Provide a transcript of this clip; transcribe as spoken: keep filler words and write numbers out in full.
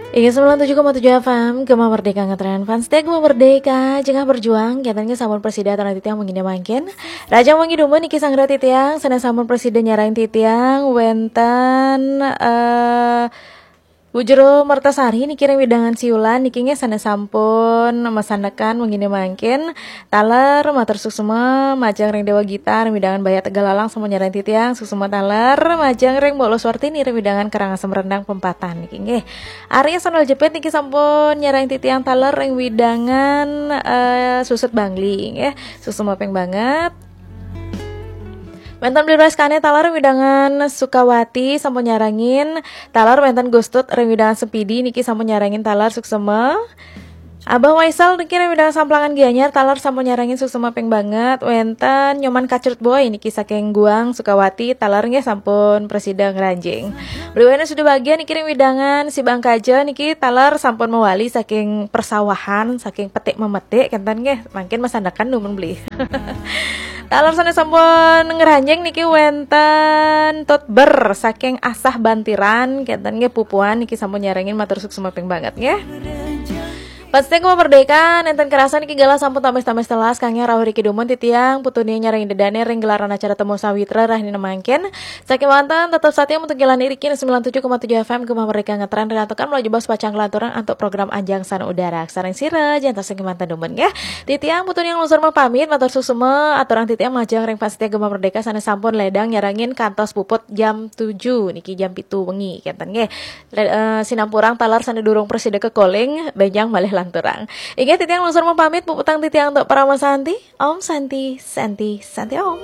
Inggih, sembilan tujuh koma tujuh F M, Gema Merdeka, ngetren fans setia Gema Merdeka, jengah berjuang, kenten sampun prasida aturang titiang wengi mangkin. Rahajeng wengi dumun niki sareng titiang, sané sampun prasida nyarengin titiang, wénten, eh, Bu Jero Mertasari niki ring wewidangan Siulan niki nggih, sané sampun masandekan wengi mangkin. Taler matur suksma majeng ring Déwa Gita ring wewidangan Bayat Tegalalang sampun nyarengin titiang, suksma taler majeng ring Mbok Loswartini ring wewidangan Karangasem Rendang Pempatan niki nggih. Arya Sandal Jepit niki sampun nyarengin titiang taler ring wewidangan, eh, Susut Bangli nggih. Suksma ping banget. Wénten Bli Raskane taler wewidangan Sukawati sampun nyarengin, taler wénten Gustut ring wewidangan Sempidi niki sampun nyarengin taler, suksma. Abah Waisal niki ring wewidangan Samplangan Gianyar, taler sampun nyarengin, suksma ping banget. Wénten Nyoman Kacrut Boy niki saking Guang Sukawati, taler nggih sampun prasida ngranjing. Bli Wena Suda Bagia niki ring wewidangan Sibang Kaja niki, taler sampun mawali saking persawahan, saking petik memetik kenten nggih, mangkin masandekan dumun Bli. Taler sané sampun ngranjing niki wénten Tut Ber saking Asah Bantiran, kenten nggih pupuan niki sampun nyarengin, matur suksma ping banget nggih. Pasti Gema Merdeka, nénten kerasa niki galah sampun tamis-tamis telas, kangge rauh riki dumun titiang, putu nia nyarengin dedane ring gelaran acara Temu Sawitra rahina mangkin. Saking wénten, tetep satia untuk jalan iriki sembilan tujuh koma tujuh F M Gema Merdeka, ngetren ring antukan melaju bas pacang kelanturan antuk program Anjang Sana Udara. Sareng sira, jantos saking wénten dumun nggih. Titiang putu nia nglungsur mapamit, matur suksma aturang titiang majeng ring fans setia Gema Merdeka sané sampun ledang nyarengin kantos puput jam tujuh niki jam pitu wengi kenten nggih. Le-, eh, sinampurang taler sané durung prasida kekoling, bénjang malih lanturang. Inggih titiang nglungsur mapamit, puputang titiang antuk Parama Santi. Om Santi, Santi, Santi Om.